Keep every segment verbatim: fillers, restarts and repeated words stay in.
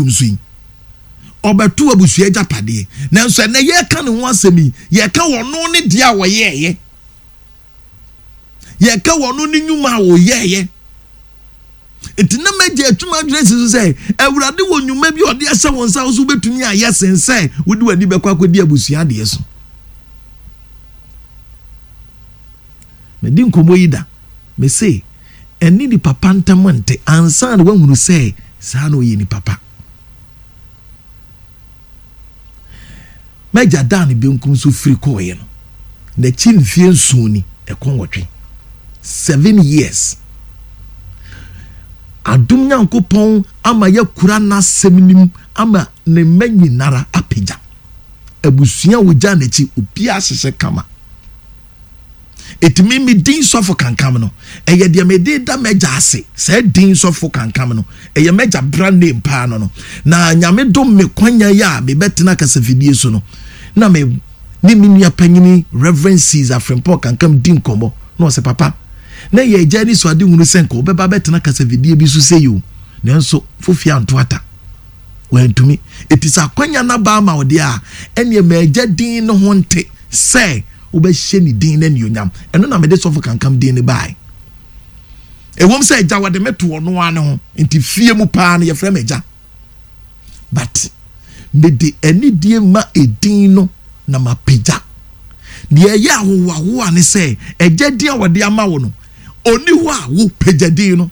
benkum so yi, ɔbɛto abusua agyapadeɛ, nanso ɛnɛ yɛreka ne ho asɛm yi, yɛreka wɔn ne deɛ a wɔyɛɛyɛ, yɛreka wɔn ne nnwuma a wɔyɛɛyɛ. Nti na mɛgye atwuma adwene si so sɛ Awurade wɔ nnwuma bi a ɔde ahyɛ wɔn nsa so wobɛtumi ayɛ sen sɛ wode w'ani bɛkɔ akɔdi abusua adeɛ so. Medi nkɔmmɔ yi da, mese ɛne nipa pa ntam nte ansa na woahunu sɛ saa na ɔyɛ nipa pa. M'agya daa ne benkum so firi kɔɔeɛ no, n'akyi mfeɛ nson ni, ɛkɔ nwɔtwe. Seven years. Adom Nyankopɔn ama yɛakura n'asɛm no mu ama ne mma nyinara apagya. Abusua a wɔgyaa n'akyi, obiara hyehyɛ kama. Eti me me din sɔfo kankam no, ɛyɛ deɛ mede da m'agya ase. Saa din sɔfo kankam no, ɛyɛ m'agya brand name paa no no. Na Nyame dom me kwanya yi a mebɛtena kasafidie so no, na me ne me nua panyini Reverend Caesar Frimpong Kankam di nkɔmmɔ. Na ɔsɛ, papa, na ɛyɛ agya anisoadehunu sɛ nka ɔbɛba abɛtena kasafidie bi so sei o, nanso fofie anto ata. Wantumi. Eti sɛ akwanya no aba ama wo deɛ a, ɛneɛ ma agya din no ho nte sɛ wobɛhyɛ ne din no anuonyam. Ɛno na mede sɔfo kankam din no bae. Ɛwom sɛ agya wɔde me to ɔno ara ne ho, nti fie mu paa no yɛfrɛ me agya. But mede anidie ma edin no na mapagya. Deɛ ɛyɛ ahohoahoa ne sɛ agya din a wɔde ama wo no, ɔni hɔ a wo pagya din no.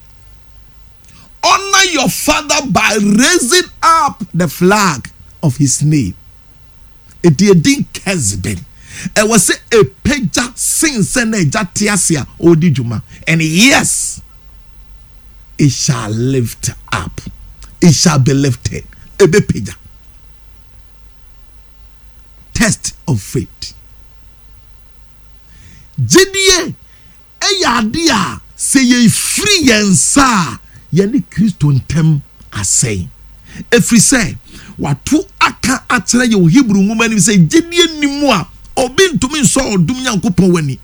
Honor your father by raising up the flag of his name. Enti edin Kesben, ɛwɔ sɛ ɛpagya sen sɛ na agya te ase a ɔredi dwuma. And yes, it shall lift up. It shall be lifted. Ɛbɛpagya. Test of faith. Gyidie yɛ ade a sɛ yɛfiri yɛn nsa a, yɛne Kristo ntam asɛe. Ɛfiri sɛ, wɔato aka akyerɛ yɛn wɔ Hebri nwoma no mu sɛ, gyidie nni mu a, obi ntumi nsɔ ɔdom Nyankopɔn ani.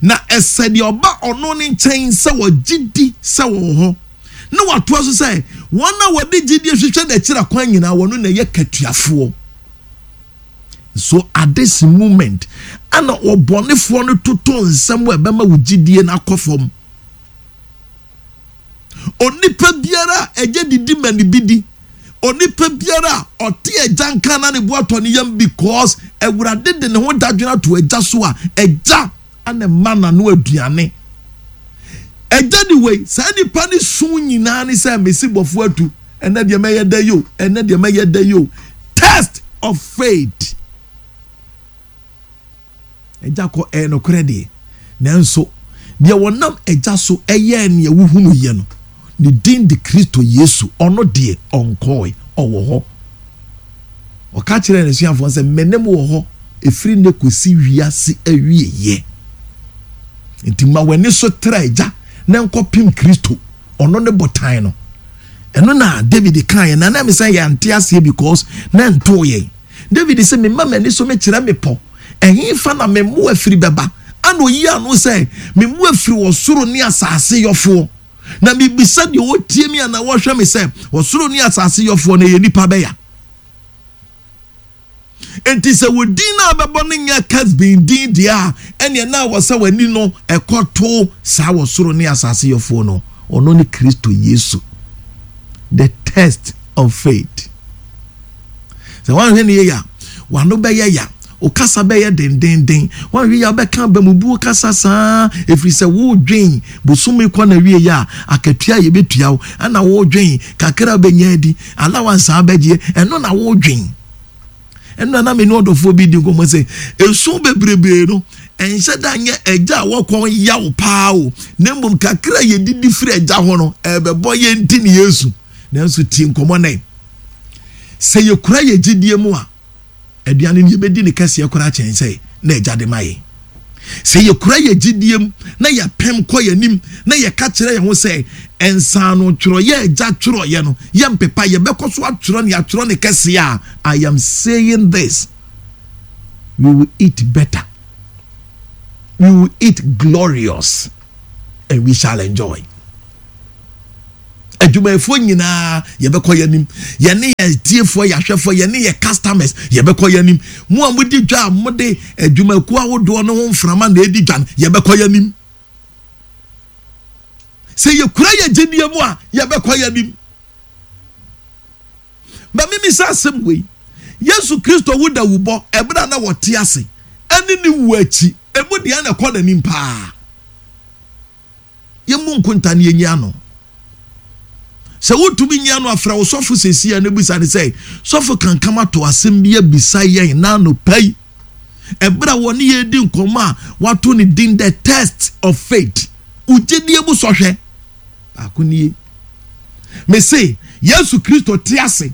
Na ɛsɛ deɛ ɔba ɔno ne nkyɛn sɛ ɔgye di sɛ ɔwɔ hɔ, na watoa so sɛ, wɔn a wɔde gyidie hwehwɛ n'akyiri akwan nyinaa, wɔn na ɛyɛ katuafoɔ. So at this moment ana ɔbɔnefoɔ no toto nsɛm a ɛbɛma wo gyidie no akɔ fam? Onipa biara a ɛgya didi ma ne bi di. Onipa biara a ɔte agya nka na ne bo atɔ ne yam because Awurade de ne ho dadwene ato agya so a, agya ana ɛma n'ano aduane. Agya de wei, saa nipa ne su nyinaa ne sɛ mesi bɔfo atu, ɛnɛ deɛ mɛyɛ dɛ yo, ɛnɛ deɛ mɛyɛ dɛ yo. Test of faith. Agya kɔ ɛyɛ nokorɛ deɛ, nanso deɛ wɔnam agya so ɛyɛɛ neɛ wohunu yɛ no, ne din de Kristo Yesu, ɔno deɛ ɔnkɔɔe, ɔwɔ hɔ. Ɔka kyerɛɛ n'asuafoɔ sɛ, me ne mo wɔ hɔ ɛfiri nnɛ kɔsi wiase awieeɛ. Nti ma w'ani so tra agya na nkɔpem Kristo, ɔno ne botan no. Ɛno na David kaeɛ, na na me sɛ yɛante aseɛ because na ɛntoo yɛn. David sɛ, mema m'ani so mekyerɛ mmepɔ, ɛhefa na me mmoa firi bɛba? Ana ɔyi ano sɛ, me mmoa firi ɔsoro ne asase yɔfoɔ. Na mebisa deɛ ɔtie me anaa ɔhwɛ me sɛ, ɔsoro ne asase yɔfoɔ no, ɛyɛ nnipa bɛya? Enti sɛ wo din no a bɛbɔ no nyɛ Kesbin din deɛ a, ɛneɛ na wɔ sɛ w'ani no ɛkɔto saa wɔ soro ne asase yɔfoɔ no, ɔno ne Kristo Yesu. The test of faith. Sɛ woanhwɛ no yie a, w'ano bɛyɛ ya, wo kasa bɛyɛ dendenden, woanhwɛ yie a wobɛka abamubuo kasa saa, ɛfiri sɛ wodwen bosome kɔ na wie a, akatua a yɛbɛtua wo, ɛna wodwen kakra a wobɛnya adi, allowance a wobɛgyeɛ, ɛno na wodwen. Ɛno na me ne ɔdɔfoɔ bi di nkɔmmɔ sɛ, esu bebrebe no, ɛnhyɛ da nyɛ agya a wɔkɔn yaw paa o, na mmom kakra a yɛdidi firi agya hɔ no, ɛbɛbɔ yɛn nti ne yɛsu. Nanso tie nkɔmmɔ no ɛ. Sɛ yɛkura yɛn gyidie mu a, aduane no yɛbɛdi ne kɛseɛ koraa kyɛn sɛ na agya de ma yɛn. Sɛ yɛkura yɛn gyidie mu na yɛpem kɔ yɛn anim na yɛka kyerɛ yɛn ho sɛ nsaano twerɛeɛ a agya twerɛeɛ no yɛmpepa, yɛbɛkɔ so atwerɛ ne atwerɛ ne kɛseɛ a, I am saying this, we will eat better, we will eat glorious, and we shall enjoy. Adwumayɛfoɔ nyinaa, yɛbɛkɔ yɛn anim. Yɛne yɛ tiefoɔ, yɛ ahwɛfoɔ, yɛne yɛ customers, yɛbɛkɔ yɛn anim. Mo a modi dwa a mode adwumakuo ahodoɔ no ho mframa na edi dwa no, yɛbɛkɔ yɛn anim. Sɛ yɛkura yɛ gyedie mu a, yɛbɛkɔ yɛn anim. Bɛmimi sɛ asɛm wei, Yesu Kristo wu da wubɔ ɛberɛ a na wɔte ase ɛne ne wu akyi, emu deɛ na ɛkɔ n'anim paa? Yɛmu nkonta ne yɛnyi ano. Sɛ wotumi nyi ano, afrɛ wo sɔfo sɛsi a no, bisa ne sɛ, "Sɔfo Kankam ato asɛm bi abisa yɛn na anɔpa yi, ɛberɛ a wɔne yɛdi nkɔmmɔ a wato ne din 'The Test of Faith', wogyedie mu sɔhwɛ baako nie." Mese Yesu Kristo te ase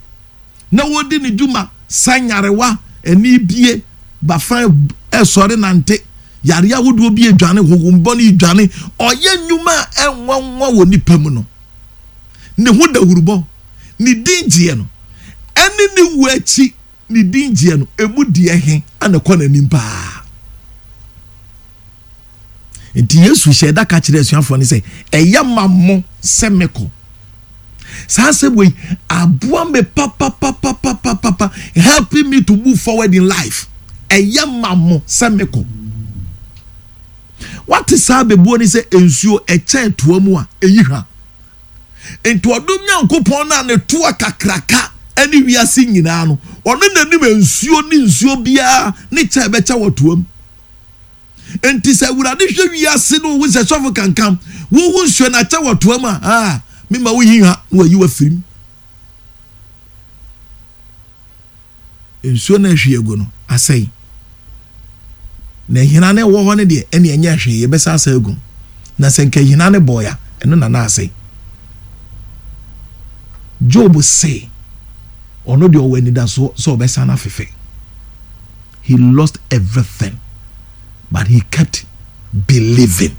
na wɔdi ne dwuma sa nyarewa, ani bie, bafa ɛsɔre nante, yare ahodoɔ bi adwane, honhombɔne dwane, ɔyɛ nnwuma a ɛnwanwa wɔ nipa mu no, ne ho dawurubɔ, ne din gyeɛ no, ɛne ne wu akyi ne din gyeɛ no, emu deɛ he ana kɔ n'anim paa? Nti Yesu hyɛ da ka kyerɛ asuafoɔ no sɛ, "Ɛyɛ ma mo sɛ mekɔ." Saa asɛm wei aboa me papapapapapa, helping me to move forward in life. Ɛyɛ ma mo sɛ mekɔ. Wate saa bebuo ni sɛ nsuo ɛkyɛn toa mu a, ɛyi hwa. Nti ɔdom Nyankopɔn no a ne toa kakraka ɛne wiase nyinaa no, ɔno n'anim nsuo ne nsuo biara ne kyɛ ɛbɛkyɛ wɔ toa mu. Nti sɛ Awurade hwɛ wiase no, wohu sɛ sɔfo Kankam wohu nsuo no akyɛ wɔ toa mu a, ah, mema woyi hwa na wayi wafirim. Nsuo no ahwie agu no asɛe na hina no ɛwɔ hɔ no deɛ, ɛne ɛnyɛ hwee, yɛbɛsa asa agu. Na sɛ nka hina no bɔɔ ɛno na na asɛe. Job se ɔno deɛ, ɔwɔ anidasoɔ sɛ ɔbɛsan afefɛ. He lost everything, but he kept believing.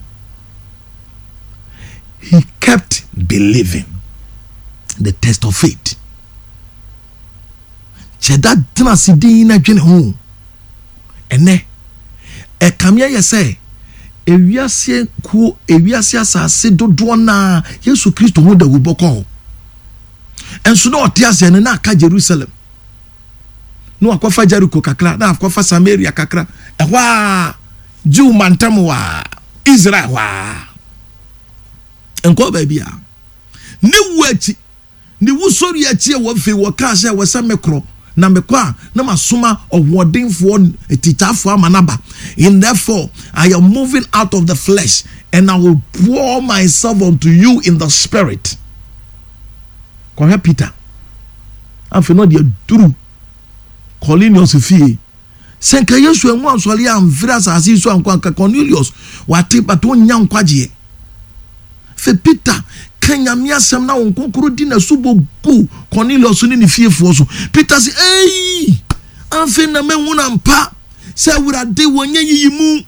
He kept believing. The test of faith. Kyɛda tena ase din na dwene ho. Ɛnɛ ɛkame ayɛ sɛ ewiase kuo, ewiase asase dodoɔ naa, Yesu Kristo ho dawubɔ kɔ hɔ. Ɛnso na ɔte aseɛ no, na aka Jerusalem, na wakɔfa Jericho kakra, na akɔfa Samaria kakra, ɛhɔ a Jew mantam wɔ a Israel hɔ a nkɔ baabi a. Ne wu akyi, ne wusɔre akyi a, wɔfei wɔkaa sɛ wɔ sɛ mekorɔ na mekɔ a, na masoma ɔhoɔdenfoɔ tikyafoɔ ama naba. "And therefore I am moving out of the flesh, and I will pour myself unto you in the spirit." Kɔhwɛ Peter afei na ɔde aduru Cornelius fie. Sɛ nka Yesu ɛnwo ansɔre amfiri asase yi so ankɔ anka Cornelius wate bata ɔnya nkwagyeɛ. Fɛ Peter ka Nyame asɛm na wɔn nkonkoro di n'asubɔ gu Cornelius ne ne fiefoɔ so. Peter sɛ, "Ei, afei na mahu na mpa sɛ Awurade wɔnyɛ yiyi mu,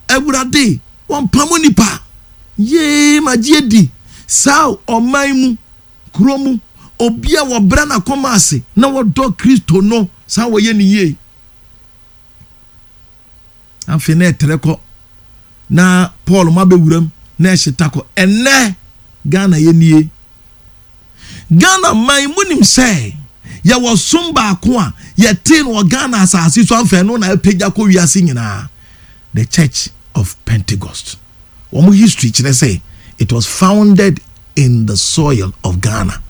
Awurade wɔmpam nipa yee. Magye adi saa ɔman mu, kuro mu, obi a wɔbrɛ n'akɔma ase na wɔdɔ Kristo no saa wɔyɛ ne yie." Afei na ɛtrɛ kɔ na Paul ma bɛwuram na ɛhyeta kɔ. Ɛnɛ Ghana yɛ nie. Ghana man mu nim sɛ yɛwɔ som baako a yɛtee no wɔ Ghana asase so amfɛ no na apagya kɔ wiase nyinaa, The Church of Pentecost. Wɔn history kyerɛ sɛ it was founded in the soil of Ghana,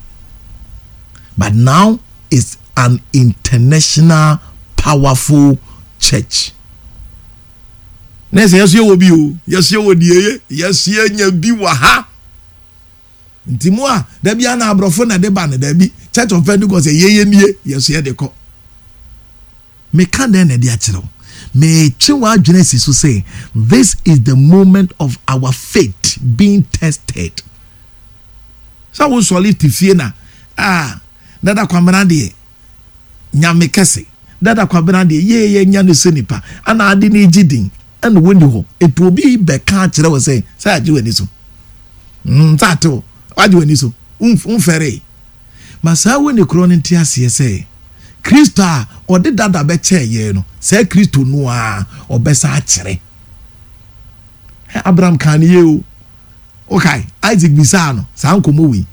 but now it's an international powerful church. Na sɛ yɛso yɛwɔ bi o, yɛso yɛwɔ die, yɛso yɛnya bi wɔ ha. Nti mu a dabi ana aborɔfo na de ba no, dabi, Church of Pentecost yɛyɛ nie, yɛso yɛde kɔ. Meka dɛn na ɛde akyerɛ wo? Metwe w'adwene asi so sɛ this is the moment of our faith being tested. Sɛ wosɔre te fie na ah, Dada Kwamena deɛ, Nyame kɛse, Dada Kwabena deɛ, yee, yɛ nya no sɛ nipa ana ade no gye din ɛna wɔni hɔ. Etu obi bɛka akyerɛ wɔ sɛ sɛ agye w'ani so mm sɛ ate wo wagye w'ani so, womfɛre ma saa wɔ ne korɔ no. Nte aseɛ sɛ Kristo a ɔde dada bɛkyɛɛ yɛn no, saa Kristo no a ɔbɛsa akyerɛ. Abraham kan ne yie o. Okay, Isaac bisaa no saa nkɔmmɔ wei.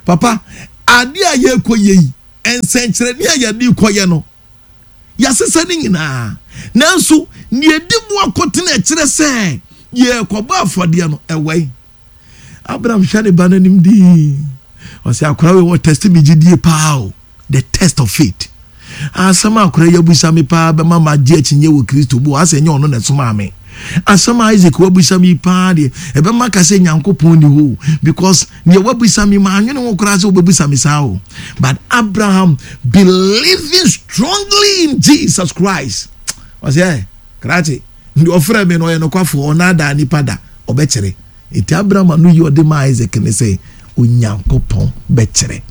Papa, adeɛ a yɛrekɔ yɛ yi, nsɛnkyerɛnne a yɛde kɔyɛ no, yɛasesa ne nyinaa. Nanso, nea edi mu akotene ɛkyerɛ sɛ yɛrekɔbɔ afɔdeɛ no, ɛwɔ yi. Abraham hwɛ ne ba n'anim dii. Ɔsɛ akora wei wɔ test mi gyidie paa o. The test of faith. Asɛm a akora yi abusa me paa bɛma ma agye akyinnye wɔ Kristo mu. Asɛ nyɛ ɔno na ɛsomaa me. Asɛm a Isaac wabusa me paa deɛ, ɛbɛma ka sɛ Nyankopɔn ni hɔ because nea wabusa me ma anwene ho koraa sɛ wobɛbusa me saa o. But Abraham believing strongly in Jesus Christ. Ɔsɛ ɛ krakye deɛ ɔfrɛ me no ɔyɛ nokwafoɔ, ɔnaadaa nipa da, ɔbɛkyerɛ. Nti Abraham ano yi ɔde ma Isaac ne sɛ Onyankopɔn bɛkyerɛ.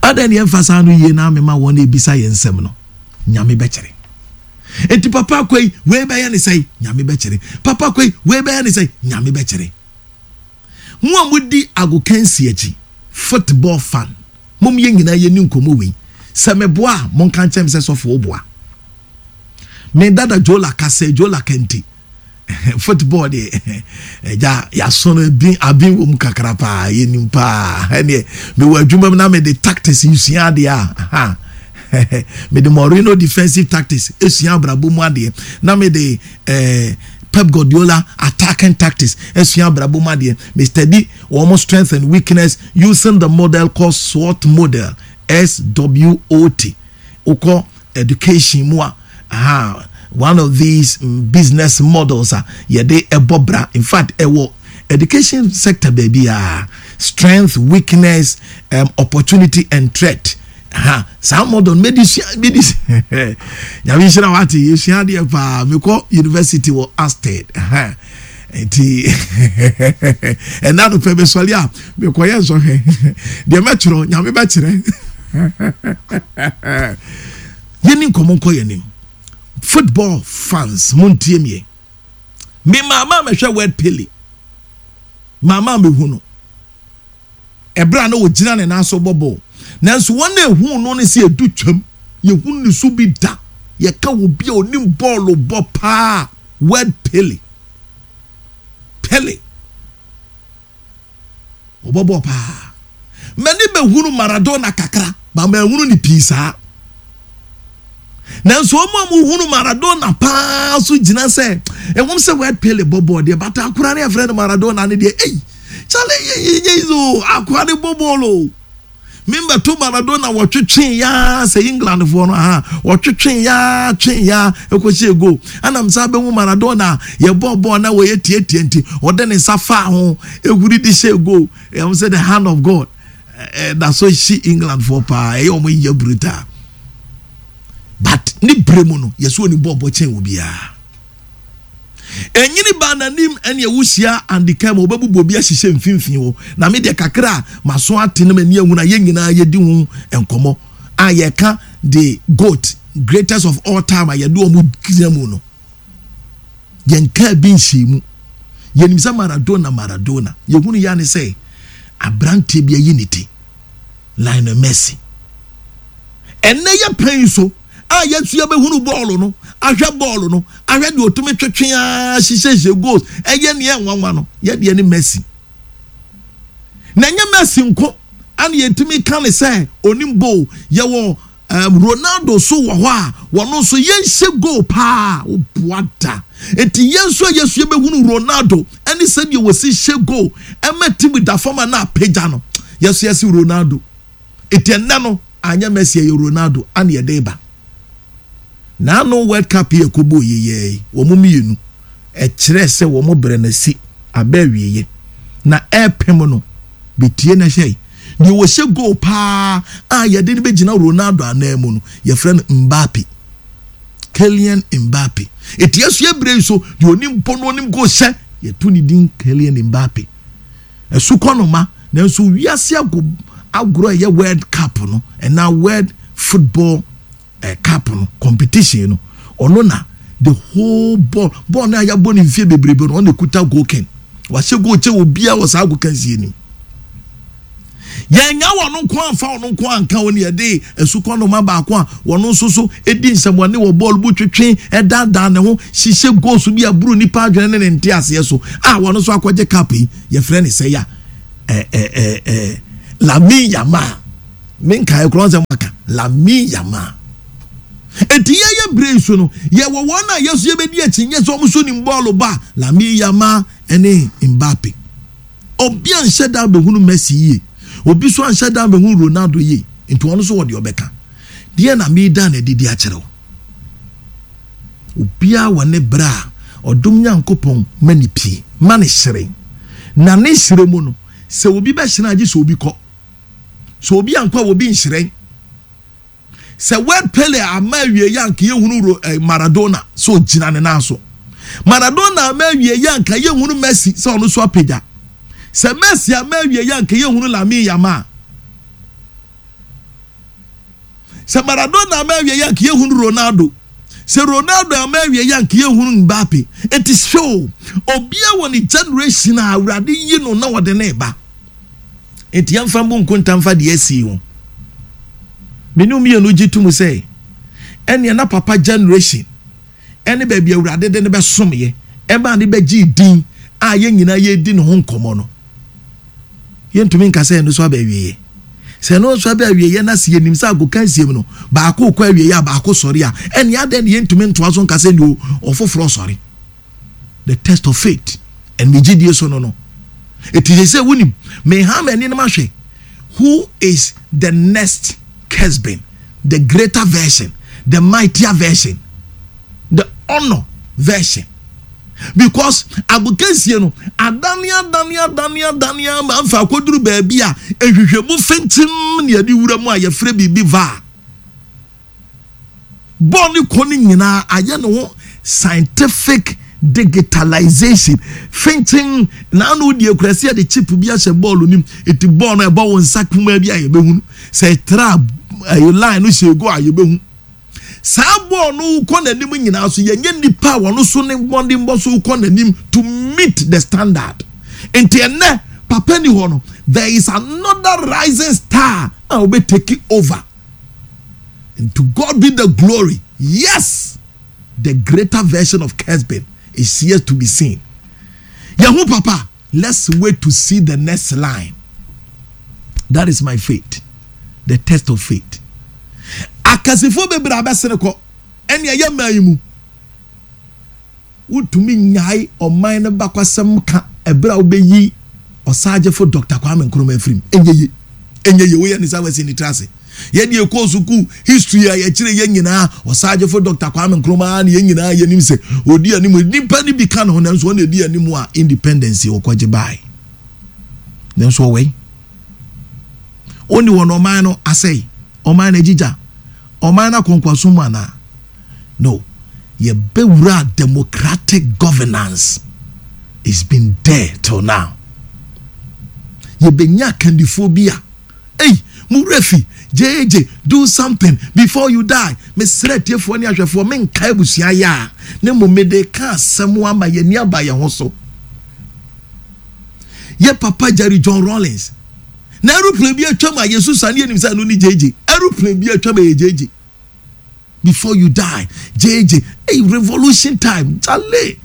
Adan ne yɛmfa saa no yie na amema wɔn ebisa yɛn nsɛm no, Nyame bɛkyerɛ. Enti papa akɔ yi, wei bɛyɛ ne sɛn, Nyame bɛkyerɛ. Papa akɔ yi, wei bɛyɛ ne sɛn, Nyame bɛkyerɛ. Mo a modi agokansi akyi, football fan, mom yɛn nyinaa yɛni nkɔmmɔ wei. Sɛ meboa a, monka nkyɛn me sɛ sɔfo woboa. Me dada Jola kasa, Jola kente. Football deɛ, ɛgya yɛaso no bi abin wɔ mu kakra paa, yɛnim paa. Ɛneɛ mewɔ adwuma mu na mede tactics nsua adeɛ a, ha. Mede Mourinho defensive tactics esua abrabɔ mu adeɛ, na mede eh, Pep Guardiola attacking tactics esua abrabɔ mu adeɛ. Me study wɔn strength and weakness using the model called SWOT model, S W O T. Wokɔ education mu a, aha, one of these business models a yɛde ɛbɔ bra. In fact, ɛwɔ education sector baabi a, strength, weakness, um, opportunity and threat. Ha, saa model no medi sua medi. Nyame nhyira wate, yɛsua adeɛ paa. Mekɔ university wɔ Asted, nti ɛna no pɛ mesɔre a mekɔyɛ nsɔhwɛ deɛ mɛtwerɛ, Nyame bɛkyerɛ. Yɛni nkɔmmɔ nkɔ yɛnim. Football fans, montie mie. Me maama mɛhwɛ word Pele, maama mehu no ɛberɛ a na wɔgyina ne nan so bɔ bɔɔl, nanso wɔn a ehu no ne sɛ edu twam yɛhu ne so bi da. Yɛka wɔ bi a onim bɔɔlo bɔ paa, word Pele. Pele ɔbɔ bɔɔl paa. Mɛni bɛhunu Maradona kakra ba, mɛhunu ne pii saa. Nanso wɔn a wɔhunu Maradona paa so gyina sɛ ɛwɔm sɛ word Pele bɔ bɔɔl deɛ, bata akora ne yɛfrɛ no Maradona ne deɛ, ei kyale yɛ yɛ yɛ o, akora ne bɔ bɔɔl o. Membɛto Maradona wɔtwetwe yaa sɛ England foɔ no aha, wɔtwetwe yaa twe yaa ɛkɔhyɛ goal. Ɛnam saa bɛhu Maradona yɛbɔ bɔɔl na wɔyɛ tietie nti ɔde ne nsa faa ho ehuri de hyɛ goal. Ɛwɔm sɛ the hand of God ɛda so hyi England foɔ paa, ɛyɛ wɔn yɛ brutal, but ne bere mu no yɛsɛ oni bɔɔl bɔ kyɛn wɔ biara. Ɛnyini ba n'anim ɛne ɛwo hyia Andy Kɛm, ɔbɛbubu obi ahyehyɛ mfimfini hɔ. Na me deɛ, kakra a maso ate no, m'ani ehunu a yɛn nyinaa yɛdi ho nkɔmɔ a yɛka the GOAT, greatest of all time, a yɛde wɔn gyina mu no, yɛn kaa bi nhyɛ mu. Yɛnim sɛ Maradona, Maradona yɛhunu ya ne sɛ aberanteɛ bi ayi ne ti, Lionel Messi. Ɛnɛ yɛ pɛn so a yɛtu yɛbɛhunu bɔɔlo no, ahwɛ bɔɔlo no, ahwɛ deɛ otumi twetwe aa hyehyɛhyɛ goals, ɛyɛ neɛ nwanwa no, yɛdeɛ ne Messi. Na ɛnyɛ Messi nko ana yɛtumi ka ne sɛ onim goal. Yɛwɔ um, Ronaldo so wɔ hɔ a wɔn nso yɛnhyɛ goal paa, woboa da. Eti yɛn nso a yɛsu yɛbɛhunu Ronaldo ɛne sɛdeɛ wɔsi hyɛ goal ɛma team da fam a na apagya no, yɛso yɛsi Ronaldo. Eti ɛnɛ no anyɛ Messi, ɛyɛ Ronaldo ana yɛde ba. N'ano World Cup yɛ kɔbɔ yeyɛɛ, wɔn mmienu ɛkyerɛ sɛ wɔn brɛ no si abɛ awieɛ na ɛɛpem no betie na hyɛ deɛ wɔhyɛ goal paa a yɛde no bɛgyina Ronaldo anan mu no, yɛfrɛ no Mbappe, Kylian Mbappe. Eti ɛso ebire yi so deɛ onim bɔ no, onim goal hyɛ, yɛto ne din Kylian Mbappe. Ɛso kɔ no ma nanso wiase ago agorɔ a ɛyɛ World Cup no ɛna World Football eh, Cup no competition no, ɔno na the whole ball ball no a yɛabɔ ne mfie bebrebe no, ɔno ekuta goal king. Wahyɛ goal kyɛ obiara wɔ saa goal kansie nim. Yɛnya wɔn nko amfa wɔn nko anka wɔn. Yɛde asukɔnoma baako a wɔn nso so edi nsɛmɔne wɔ bɔɔl bu twetwe, ɛdaadaa ne ho hyehyɛ goals bi aburu nipa adwene ne ne nte aseɛ so a wɔn nso akɔgye cup yi, yɛfrɛ ne sɛ ya ɛ ɛ ɛ ɛ Lamine Yamal, menkae korɔ nsɛm aka Lamine Yamal. Eti yɛyɛ bere so no, yɛwɔ wɔn a yɛso yɛbɛdi akyi nyɛ sɛ wɔn so nim bɔɔlo ba Lamine Yamal ne Mbappe. Obi anhyɛ da bɛhunu Messi yie, obi so anhyɛ da bɛhunu Ronaldo yie, nti wɔn nso wɔ deɛ ɔbɛka deɛ na meeda na adidi akyerɛ wo. Obiara wɔ ne berɛ a ɔdom Nyankopɔn ma ne pie ma ne hyerɛn, na ne hyerɛn mu no, sɛ obi bɛhyerɛn agye sɛ obi kɔ, sɛ obi ankɔ a obi nhyerɛn. Sɛ word Pele ama awie yɛ anka yɛhunu eh, Maradona sɛ ɔgyina ne nan so. Maradona ama awie yɛ anka yɛhunu Messi sɛ ɔno so apagya. Sɛ Messi ama awie yɛ anka yɛhunu Lamine Yamal. Sɛ Maradona ama awie yɛ anka yɛhunu Ronaldo. Sɛ Ronaldo ama awie yɛ anka yɛhunu Mbappe. Eti show obia wɔ ne generation a Awurade yi no na wɔde ne ba. Eti yɛmfa mbu nkonta mfa deɛ asi ho. Mene mmienu gye tom sɛ ɛneɛ na papa generation ɛne baabi Awurade de ne bɛsomyɛ ɛma ne bɛgye din a yɛn nyinaa yɛdi ne ho nkɔmmɔ no, yɛntumi nka sɛ ɛno so aba awieɛ. Sɛ ɛno nso aba awieɛ na sɛ yɛnim sɛ agoka nsiem no baako kɔ awieɛ a baako sɔre a, ɛne adɛn ne yɛntumi ntoa so nka sɛ ne ɔfoforɔ sɔre? The test of faith ɛne megyedie so no no ɛti sɛ sɛ wonim meha m'ani no mahwɛ who is the next Kesbin, the greater version, the mightier version, the honor version. Because agokansie no adane adane adane adane ama mfa akɔduru baabi a ehwehwɛmu fentim ne yɛde wura mu a yɛfrɛ biribi V A R. Bɔɔl ne kɔ no nyinaa ayɛ ne ho scientific digitalization fentim na ano deɛ kura si yɛde chip bi ahyɛ bɔɔl nim, eti bɔɔl no ɛbɔ wɔn nsa kumaa bi a yɛbɛhunu sɛ ɛtra ɛyɛ line no hyɛ ego a yɛbɛhu. Saa bɔɔl no kɔ n'anim nyinaa so, yɛnyɛ nipa a wɔn so ne mmɔdenbɔ so kɔ n'anim to meet the standard. Nti ɛnɛ papa ni hɔ no, there is another rising star a wɔbɛ take over, and to God be the glory. Yes, the greater version of Kesbin is yet to be seen. Yahoo papa, let's wait to see the next line. That is my faith, the test of faith. Akasifo bebree abɛsene kɔ ɛne ɛyɛ mmaa yi mu wotumi nyae ɔman no bakwasɛm ka ɛberɛ a wobɛyi Ɔsagyefo Doctor Kwame Nkrumah afirim. Ɛnyɛ ye, ɛnyɛ ye. Woyɛ ne sa wasi ne tiri ase. Yɛde ɛkɔɔ sukuu history a yɛkyerɛ yɛn nyinaa, Ɔsagyefo Doctor Kwame Nkrumah ne yɛn nyinaa yɛnim sɛ ɔdi anim. Nipa no bi ka ne ho, nanso ɔna ɛdi anim a independence wɔkɔgye bae, nanso ɔwɛn ɔni wɔ no, ɔman no asɛe, ɔman no agyigya, ɔman no akɔnkwaso mu anaa no. Yɛbɛwura democratic governance, it's been there till now. Yɛbɛnya akandifoɔ bi a ei mo werɛ fi J J, do something before you die. Mesrɛ atiefoɔ ne ahwɛfoɔ, menka abusua yɛ a ne mmom mede ka asɛm ama yɛni aba yɛn ho so. Yɛ papa Jerry John Rawlings na aeroplane bi atwam a yɛsusa ne yɛnim sɛ ɛno ne J J. Aeroplane bi atwam a yɛ J J, before you die, J J. Hey, revolution time jale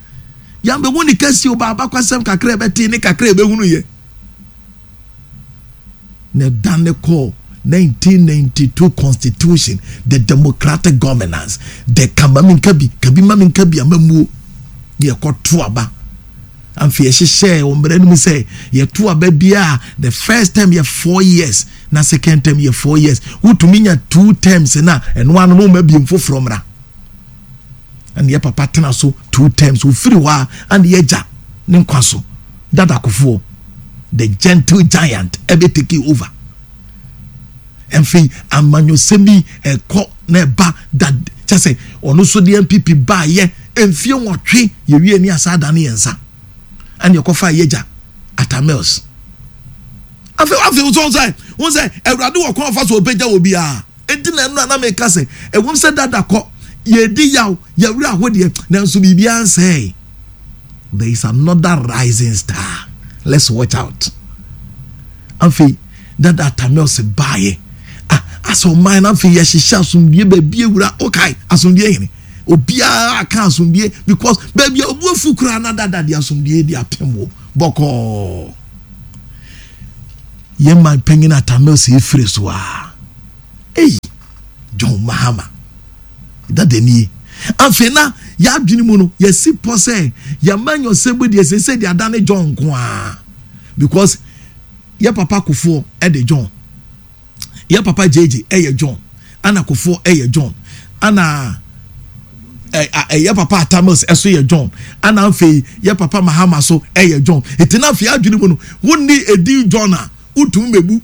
yàmbɛhu ne kɛse o baaba kwasɛm kakra ɛbɛte ne kakra ɛbɛhunu yɛ na ɛda ne kɔɔ nineteen ninety-two constitution, the democratic governance, the kama mi nka bi kabi ma mi nka bi amamuo ne yɛkɔto aba. Afei yɛhyehyɛ wɔ mmerɛ no mu sɛ yɛto aba biara, the first term yɛ four years na second term yɛ four years. Wotumi nya two terms na ɛno ano no wɔn abiem foforɔ mmra. Ɛna yɛ papa tena so two terms, ofiri hɔ a ɛna yɛgya ne nkwa so Dada Kofoɔ, the gentle giant, ɛbɛ take over. Ɛnfei amanyɔsɛm yi ɛkɔ na ɛba da kyɛ sɛ ɔno nso de N P P baayɛ mfie nwɔtwe yɛwie ne asa ada ne yɛn nsa ɛna yɛkɔfa yɛgya Atta Mills. Afei afei wosɔn sɛ wɔn sɛ Awurade wɔ kwan fa so ɔbɛgya wɔ biara. Eti na ɛno a na meka sɛ ɛwɔm sɛ Dada kɔ, yɛdi yaw, yɛwerɛ ahodeɛ, nanso biribiara nsɛe. There is another rising star, let's watch out. Afei Dada Atta Mills baayɛ ah asɛ ɔman no afei yɛhyehyɛ asomdue baabi ewura okay asomdue hene obiara aka asomdue because baabi a obu afu koraa na Dada de asomdue de apem wo bɔkɔɔ. Yɛn man panyin Atta Mills efiri so a, eyi John Mahama dada nie. Afei na yɛadwene mu no, yɛsi pɔ sɛ yɛma nyɔsɛ bu deɛ sɛ deɛ adane John nko a, because yɛ papa Kufuor ɛde John, yɛ papa J J ɛyɛ John, ana Kufuor ɛyɛ John, ana ɛyɛ papa Atta Mills ɛso yɛ John, ana afei yɛ papa Mahama so ɛyɛ John. Eti na afei adwene mu no, wonni edi John a wotumi mebu.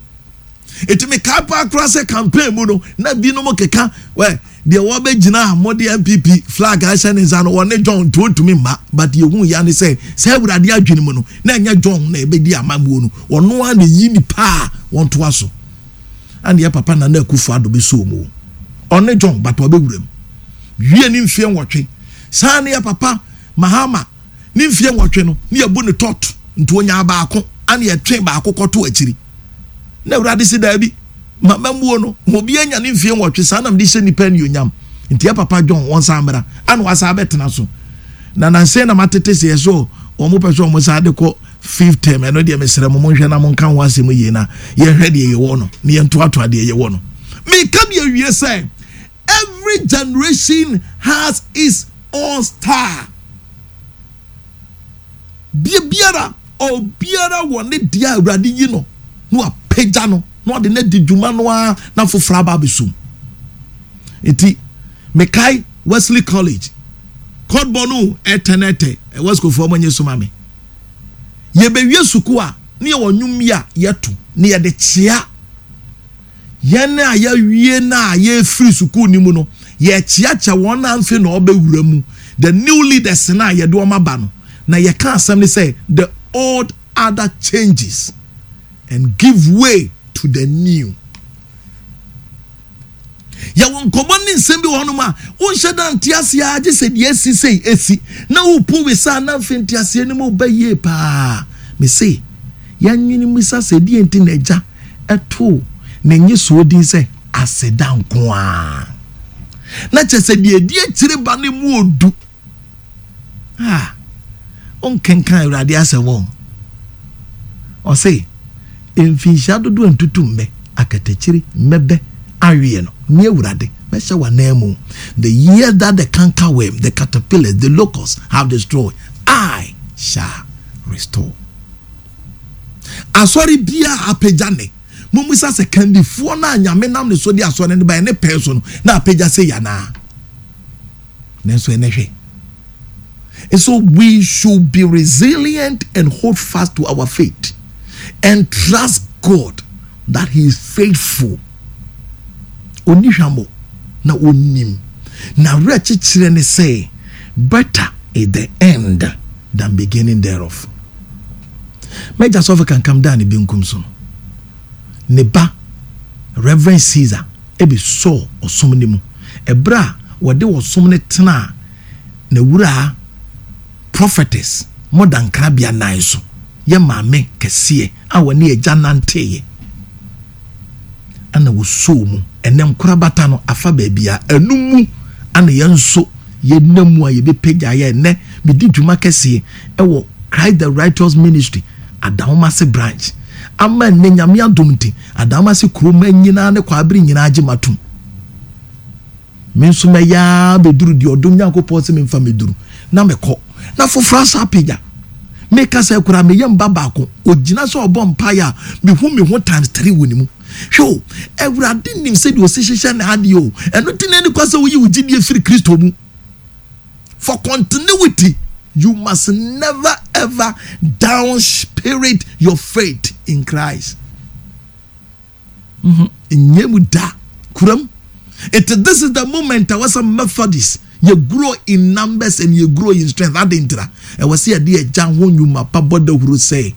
Eti mi kaa paa koraa sɛ campaign mu no na binom keka wɛ deɛ wɔbɛgyina a wɔde N P P flag ahyɛ ne nsa no, wɔne John, nti wɔntumi mma. But yehu ya ne sɛ sɛ Awurade adwene mu no na ɛnyɛ John na ɛbɛdi amammuo no, ɔno ara na eyi nipa a wɔntoa so. Ɛna yɛ papa Nana Akufo Addo bi so mu, ɔne John, but ɔbɛwura mu wie ne mfie nwɔtwe. Saa ne yɛ papa Mahama ne mfie nwɔtwe no ne yɛbu ne tɔt, nti onya baako ana yɛtwe baako kɔto akyiri na Awurade si daabi, mama muo no obi anya ne mfie nwɔtwe. Saa nam de hyɛ nipa anuonyam, nti yɛ papa John wɔn san mmra ana wasa abɛtena so. Na nansɛn na matete sɛ yɛ so wɔn pɛ sɛ wɔn san de kɔ fifth term. Ɛno deɛ, mesrɛ mo, monhwɛ na monka ho asɛm yie na yɛhwɛ deɛ yɛwɔ no na yɛntoatoa deɛ yɛwɔ no. Meka deɛ awie sɛ every generation has its own star. Bia biara, obiara wɔ ne deɛ a Awurade yi no na wapagya no na ɔde no adi dwuma no ara na foforɔ aba abɛsum. Nti mekae Wesley College kɔdbɔ no ɛtɛ no ɛtɛ ɛwɔ sukuufoɔ mo nye soma me. Yɛbɛwie sukuu a, ne yɛwɔ nnwom yi a yɛto ne yɛde kyea yɛn a yɛawie na a yɛfiri sukuu no mu no. Yɛkyeakyɛ wɔn a mfe na ɔbɛwura mu, the new leaders na yɛde wɔn aba no, na yɛka asɛm ne sɛ, "The old other changes and give way to the new." Yɛwɔ nkɔmmɔ ne nsɛm bi wɔ hɔnom a wonhyɛ da nte aseɛ a, gye sɛ deɛ esi sei esi na wopu wisa na mfe nte aseɛ no mu ba yie paa. Mese yɛnwene mmisa sɛ deɛ nti na Agya ɛtoo ne nye soɔ din sɛ Aseda Nko a, na kyerɛ sɛ deɛ edi akyire ba ne mu odu a ɔnkenkan Awurade asɛm wɔ. Ɔse mfinhyia dodoɔ ntutu mmɛ akatakyiri mmɛbɛ aweɛ no, ne Awurade mɛhyɛ w'anan mu. The year that the cankerworm, the caterpillars, the locusts have destroyed, I shall restore. Asɔre biara apagya ne mumisa sɛ kandifoɔ no a Nyame nam ne so de asɔre no baɛ ne pɛn so no na apagya sɛ yanaa, nanso ɛnɛ hwɛ. And so we should be resilient and hold fast to our faith and trust God that He is faithful. Oni hwamɔ na onim na werɛ kyekyerɛ ne sɛ better is the end than beginning thereof. Mɛgya sɔfo Kankam daa ne benkum so no, ne ba Reverend Caesar ebi sɔɔ ɔsom ne mu. Ɛberɛ a wɔde ɔsom no tena na wura Prophetess Mɔda Nkrabea nan so, yɛ maame kɛseɛ a wɔne agya nanteeɛ ana wɔsoo mu. Ɛnɛ nkorabata no afa baabi a ɛno mu ana yɛn nso yɛnam mu a yɛbɛpagya yɛ. Ɛnɛ medi dwuma kɛseɛ ɛwɔ Christ the Righteous Ministry Adawomase branch ama nnɛ Nyame adom nti Adawomase kuroma nyinaa ne Kwabere nyinaa gye matom. Me nso mɛyaa bɛduru deɛ ɔdom Nyankopɔn sɛ memfa mɛduru na mekɔ na foforɔ asa apagya. Meka sɛ koraa meyɛ mba baako ogyina sɛ ɔbɔ mpaeɛ a, mehu me ho times three wɔ ne mu. Hwɛ o, Awurade nim sɛdeɛ ɔsi hyehyɛ n'adeɛ o. Ɛno ti na ɛni kwa sɛ woyi wo gyidie firi Kristo mu. For continuity, you must never ever down spirit your faith in Christ. Nyɛ mu da kuram. It this is the moment a wɔsɛ Methodist yɛ grow in numbers and yɛ grow in strength. Adi ntira ɛwɔ sɛ yɛde Agya ho nnwuma pa bɔ dawuro sɛ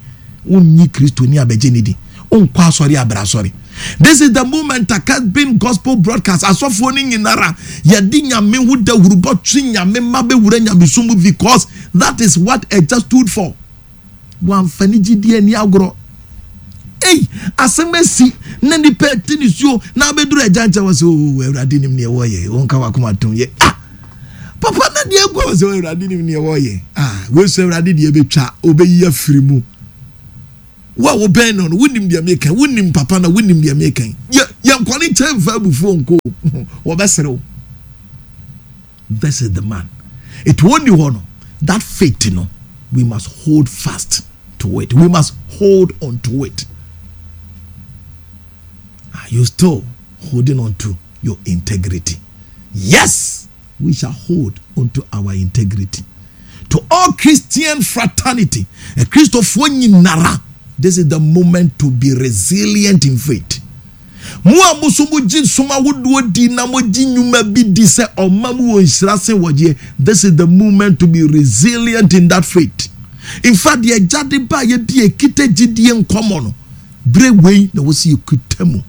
wonnyi Kristo ni abɛgye ne di, wonkɔ asɔre abra asɔre. This is the moment a Casbin Gospel Broadcast asɔfoɔ no nyinara yɛde Nyame ho dawuro bɔtwe Nyame ma bɛwura nyamesom mu, because that is what Agya stood for. Wamfa ne gyidie ani agorɔ. Ei, asɛm asi na nipa ati ne suo na abɛduru Agya nkyɛn wɔ sɛ, "O Awurade nim neɛ wɔyɛ, wɔnka wakoma tom yɛ." Ah, papa, na deɛ agu wɔ sɛ, "Awurade nim neɛ wɔyɛ." Ah, wei so Awurade deɛ bɛtwa ɔbɛyi afiri mu. Wo a wobɛn no no, wonim deɛ meka. Wonim papa na wonim deɛ meka. Yɛ yɛnkɔ ne nkyɛn mfa abufuo nko, wɔbɛsere wo. This is the man. It won't hɔ no, that faith no, we must hold fast to it. We must hold on to it. Are you still holding on to your integrity? Yes, we shall hold on to our integrity. To all Christian fraternity, a Christopher nyinara, this is the moment to be resilient in faith. Mo a mo so mo gye som ahodoɔ di na mo gye nnwuma bi di sɛ ɔma mu wɔ nhyira sen wɔgyeɛ, this is the moment to be resilient in that faith. In fact, deɛ agya de ba yɛ bi ekita gyidie nkɔmɔ no, bere wei na wɔsi ekuta mu.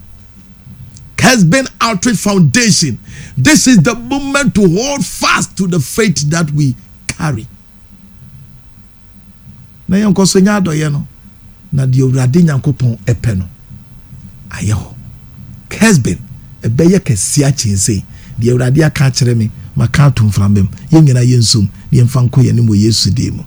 Kesben Outreach Foundation, this is the moment to hold fast to the faith that we carry. Na yɛn nkɔ so nyɛ adɔyɛ no, na deɛ Awurade Nyankopɔn ɛpɛ no ayɛ hɔ. Kesben ɛbɛyɛ kɛseɛ akyɛnsee. Deɛ Awurade aka akyerɛ me, maka ato mframa mu. Yɛn nyinaa yɛn nsom na yɛmfa nkɔ yɛn anim wɔ Yesu din mu.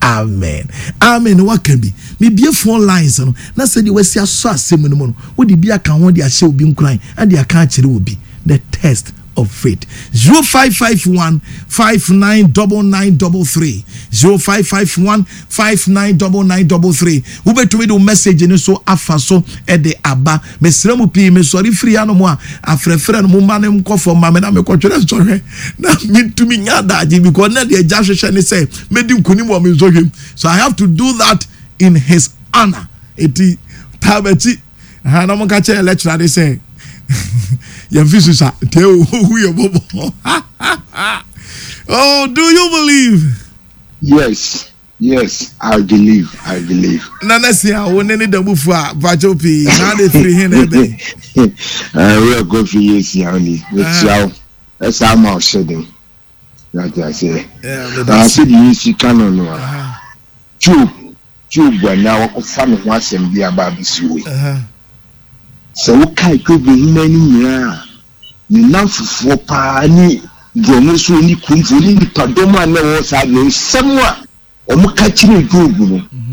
Amen, amen. Waka bi. Mebie phone lines no na sɛdeɛ wasi asɔ asɛm no mu no, wode bi aka ho de ahyɛ obi nkuran, ɛde aka akyerɛ obi. The test of faith. zero five five one five nine nine nine three three, zero five five one five nine nine nine three three. Wobɛtumi de wo message no so afa so ɛde aba. Mesrɛ mu pii, mesɔre firi hanom a, afrɛfrɛ no, momma ne nkɔ fam ma me na mekɔtwerɛ nsɔhwɛ na mentumi nya adagye, because na deɛ agya hwehwɛ ne sɛ mɛdi nkonim wɔ me nsɔhwɛ mu, so I have to do that in his honor. Eti taa m'akyi ha na monka kyerɛ lecturer de sɛ yɛmfi susa nti ohu yɛ bɔbɔ. Oh, do you believe? Yes, yes, I believe, I believe. Nana si a wo ne ne damufu a mpakyɛw pii na ade firi he na ɛbɛn? Wura Kofi yɛ sia ni, mekyia wo, ɛsa ama wo hyɛ den. Yàtì aseɛ. Sɛdeɛ yɛsi ka no no a, Job, Job a na wakɔfa ne ho asɛm bi aba abɛsi wei. Sɛ wokae Job nhoma no nyinaa a, ne nnamfofoɔ paa ne borɔno so ne kuromfoɔ ne nipadɔm a na ɛwɔ saa deɛ, nsɛm a wɔn ka kyerɛ Job no,